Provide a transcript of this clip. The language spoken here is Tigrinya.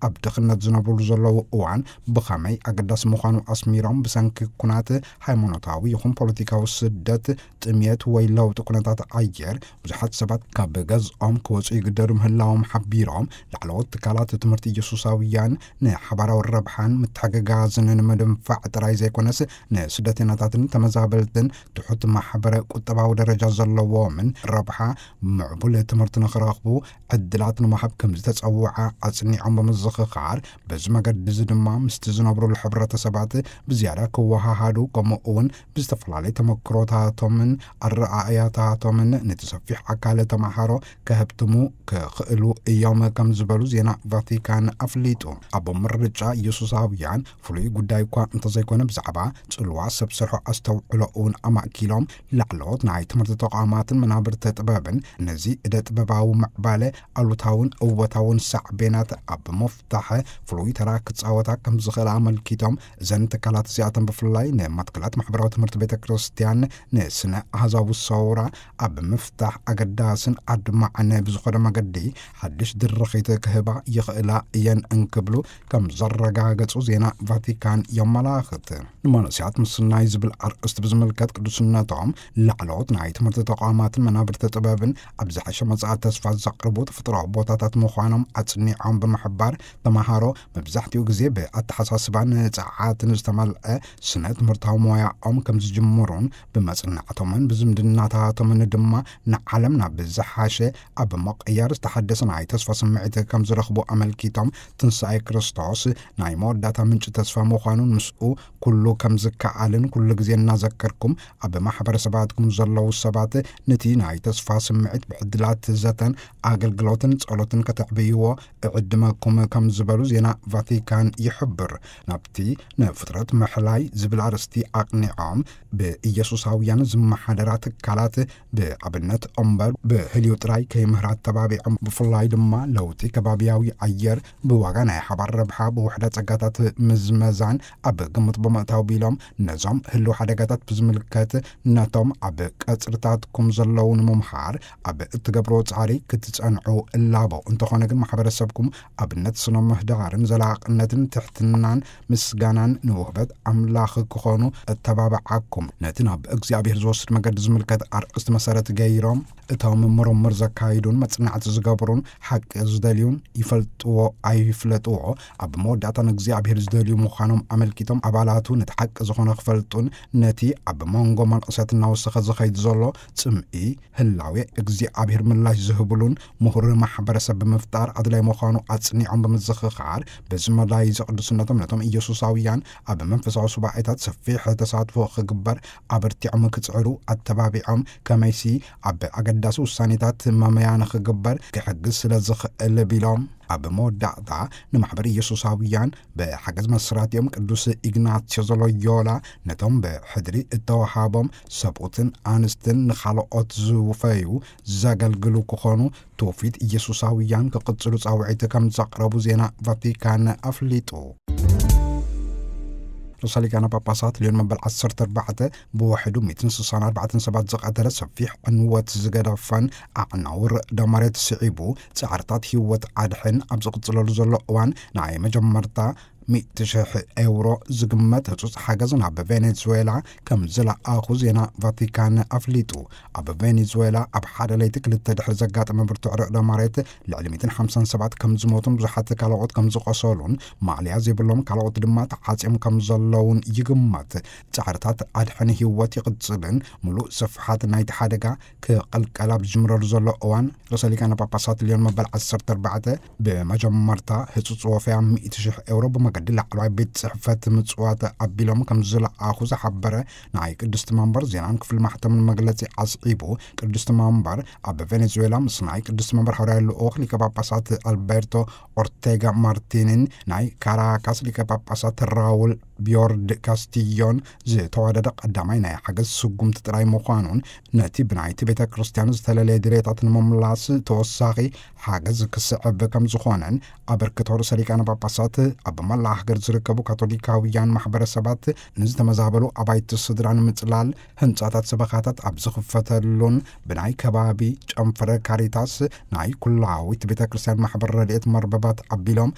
ኣብ ድኽነት ዝነብሩሉ ዘለዉ እዋን ብኸመይ ኣገዳሲ ምዃኑ ኣስሚሮም፣ ብሰንኪ ኩናት፣ ሃይማኖታዊ ይኹን ፖለቲካዊ ስደት፣ ጥምየት ወይ ለውጢ ኩነታት ኣየር ብዙሓት ሰባት ካብ ገዝኦም ክወፁ ይግደዱ ምህላዎም ሓቢሮም፣ ላዕለዎት ትካላት ትምህርቲ ኢየሱሳውያን ንሓባራዊ ረብሓን ምትሕግጋዝን ንምድንፋዕ ጥራይ ዘይኮነስ፣ ንስደተኛታትን ተመዛበልትን ትሑት ማሕበረ ቁጠባዊ ደረጃ ዘለዎምን ረብሓ ምዕቡል ትምህርቲ ንኽረኽቡ ዕድላት ንምሃብ ከም ዝተጸውዓ ኣጽኒዖም ብምዝኽኻር፣ በዚ መገዲ እዚ ድማ ምስቲ ዝነብሩሉ ሕብረተሰባት ብዝያዳ ክወሃሃዱ፣ ከምኡ እውን ብዝተፈላለዩ ተመክሮታቶምን ኣረኣእያታቶምን ነቲ ሰፊሕ ኣካል ተማሃሮ ከህብትሙ ክኽእሉ እዮም ከም ዝበሉ ዜና ቫቲካን ኣፍሊጡ። ኣብ ምርጫ ኢየሱሳውያን ፍሉይ ጉዳይ እኳ እንተዘይኮነ፣ ብዛዕባ ጽልዋ ሰብ ስርሖ ኣስተውዕሎ እውን ኣማእኪሎም፣ ላዕለዎት ናይ ትምህርቲ ተቋማትን መናብርቲ ጥበብን ነዚ እደ ጥበባዊ ምዕባለ ኣሉታውን እወታውን ሳዕቤናት ኣብ ምፍታሕ ፍሉይ ተራ ክጻወታ ከም ዝኽእላ ኣመልኪቶም፣ እዘን ትካላት እዚኣተን ብፍላይ ንማትከላት ማሕበራዊ ትምህርቲ ቤተ ክርስቲያን፣ ንስነ ኣህዛዊ ሰውራ ኣብ ምፍታሕ ኣገዳስን ኣድማዕን ብዝኾነ መገዲ ሓድሽ ድርኺት ክህባ ይኽእላ እየን እንክብሉ ከም ዘረጋገጹ ዜና ቫቲካን የመላኽት። ንመንእሰያት ምስናይ ዝብል ኣርእስቲ ብዝምልከት፣ ቅዱስነቶም ላዕለዎት ናይ ትምህርቲ ተቋማትን መናብርቲ ጥበብን ኣብ ዝሓሸ መጻኢ ተስፋ ዘቕርቡ ተፈጥሮኣዊ ቦታታት ምዃኖም ኣጽኒዖም ብምሕባር፣ ተማሃሮ መብዛሕትኡ ግዜ ብኣተሓሳስባን ጸዓትን ዝተመልአ ስነ ትምህርታዊ ሞያኦም ከም ዝጅምሩን፣ ብመጽናዕቶምን ብዝምድናታቶምን ድማ ንዓለም ናብ ዝሓሸ ኣብ ምቕያር ዝተሓደሰ ናይ ተስፋ ስምዒት ከም ዝረኽቡ ኣመልኪቶም፣ ትንሳኤ ክርስቶስ ናይ መወዳእታ ምንጪ ተስፋ ምዃኑን ምስኡ ኩሉ ከም ዝከኣልን ኩሉ ግዜ እናዘከርኩም ኣብ ማሕበረሰባትኩም ዘለዉ ሰባት ነቲ ናይ ተስፋ ስምዒት ብዕድላት ዘተን ኣገልግሎትን ጸሎትን ከተዕብይዎ እዕድመኩም ከም ዝበሉ ዜና ቫቲካን ይሕብር። ናብቲ ንፍጥረት ምሕላይ ዝብል ኣርእስቲ ኣቕኒዖም፣ ብኢየሱሳውያን ዝመሓደራ ትካላት ብኣብነት እምበር ብህልዩ ጥራይ ከይምህራ ተባቢዖም፣ ብፍላይ ድማ ለውጢ ከባብያዊ ኣየር ብዋጋ ናይ ሓባር ረብሓ ብውሕደ ጸጋታት ምዝመዛን ኣብ ግምት ብምእታው ቢሎም፣ ነዞም ህልው ሓደጋታት ብዝምልከት ነቶም ኣብ ቀጽርታትኩም ዘለዉ ንምምሃር ኣብ እትገብርዎ ጻዕሪ ክትጸንዑ እላቦ። እንተኾነ ግን ማሕበረሰብኩም ኣብነት ስነ ምህዳርን ዘላቕነትን ትሕትናን ምስጋናን ንውህበት ኣምላኽ ክኾኑ እተባብዓኩም። ነቲ ናብ እግዚኣብሔር ዝወስድ መገዲ ዝምልከት ኣርእስቲ መሰረት ገይሮም፣ እቶም ምርምር ዘካይዱን መጽናዕቲ ዝገብሩን ሓቂ ዝደልዩን ይፈልጥዎ ኣይፍለጥዎ፣ ኣብ መወዳእታ ንእግዚኣብሔር ዝደልዩ ምዃኖም ኣመልኪቶም፣ ኣባላቱ ነቲ ሓቂ ዝኾነ ክፈልጡን ነቲ ኣብ መንጎ መንእሰያት እናወሰኸ ዝኸይድ ዘሎ ጽምኢ ህላዌ እግዚኣብሔር ምላሽ ዝህብሉን ምሁር ማሕበረሰብ ብምፍጣር ኣድላይ ምዃኑ ኣጽኒዖም ብምዝኽኻር፣ በዚ መዳይ እዚ ቅዱስነቶም ነቶም ኢየሱሳውያን ኣብ መንፈሳዊ ሱባኤታት ሰፊሕ ተሳትፎ ክግበር ኣበርቲዖም ክጽዕሩ ኣተባቢዖም፣ ከመይሲ ኣብ ኣገዳሲ ውሳኔታት መመያ ንኽግበር ክሕግዝ ስለ ዝኽእል ቢሎም፣ ኣብ መወዳእታ ንማሕበር ኢየሱሳውያን ብሓገዝ መስራቲኦም ቅዱስ ኢግናትዮ ዘሎዮላ ነቶም ብሕድሪ እተዋሃቦም ሰብኡትን ኣንስትን ንኻልኦት ዝውፈዩ ዘገልግሉ ክኾኑ ትውፊት ኢየሱሳውያን ክቕጽሉ ጻውዒት ከም ዘቕረቡ ዜና ቫቲካን ኣፍሊጡ። ርእሰ ሊቃነ ጳጳሳት ሊዮን መበል ዓሰርተ ኣርባዕተ ብውሕዱ ሚእትን ስሳን ኣርባዕተን ሰባት ዝቐተለ ሰፊሕ ዕንወት ዝገደፈን ኣዕናዊ ርዕደ መሬት ስዒቡ ጻዕርታት ህይወት ኣድሕን ኣብ ዝቕጽለሉ ዘሎ እዋን፣ ናይ መጀመርታ ሚእቲ ሽሕ ኤውሮ ዝግመት ህጹጽ ሓገዝ ናብ ቬኔዙዌላ ከም ዝለኣኹ ዜና ቫቲካን ኣፍሊጡ። ኣብ ቬኔዙዌላ ኣብ ሓደ ለይቲ ክልተ ድሕሪ ዘጋጠመ ብርቱዕ ርዕደ መሬት ልዕሊ ሚእትን ሓምሳን ሰባት ከም ዝሞቱን ብዙሓት ካልኦት ከም ዝቆሰሉን፣ ማእለያ ዘይብሎም ካልኦት ድማ ተዓጽዮም ከም ዘለዉን ይግመት። ጻዕርታት ኣድሕን ህይወት ይቕጽልን፣ ምሉእ ስፍሓት ናይቲ ሓደጋ ክቕልቀል ኣብ ዝጅምረሉ ዘሎ እዋን፣ ርእሰ ሊቃነ ጳጳሳት ሊዮን መበል ዓሰርተ ኣርባዕተ ብመጀመርታ ህጹጽ ወፈያ ሚእቲ ሽሕ ኤውሮ ብመገዲ ላዕለዋይ ቤት ጽሕፈት ምጽዋት ኣቢሎም ከም ዝለኣኹ ዝሓበረ ናይ ቅድስቲ መንበር ዜናን ክፍሊ ማሕተምን መግለጺ ኣስዒቡ፣ ቅድስቲ መንበር ኣብ ቬኔዙዌላ ምስ ናይ ቅድስቲ መንበር ሃዋርያዊ ልኡኽ ሊቀ ጳጳሳት ኣልቤርቶ ኦርቴጋ ማርቲንን ናይ ካራካስ ሊቀ ጳጳሳት ራውል ቢዮርድ ካስቲዮን ዝተዋደደ ቀዳማይ ናይ ሓገዝ ስጉምቲ ጥራይ ምዃኑን፣ ነቲ ብናይቲ ቤተ ክርስቲያን ዝተለለየ ድሌታት ንምምላስ ተወሳኺ ሓገዝ ክስዕብ ከም ዝኾነን፣ ኣበርክቶ ርእሰ ሊቃነ ጳጳሳት ኣብ መላእ ሃገር ዝርከቡ ካቶሊካውያን ማሕበረሰባት ንዝተመዛበሉ ኣባይቲ ስድራ ንምጽላል፣ ህንጻታት ሰበኻታት ኣብ ዝኽፈተሉን፣ ብናይ ከባቢ ጨንፈረ ካሪታስ ናይ ኩላዊት ቤተ ክርስቲያን ማሕበር ረድኤት መርበባት ኣቢሎም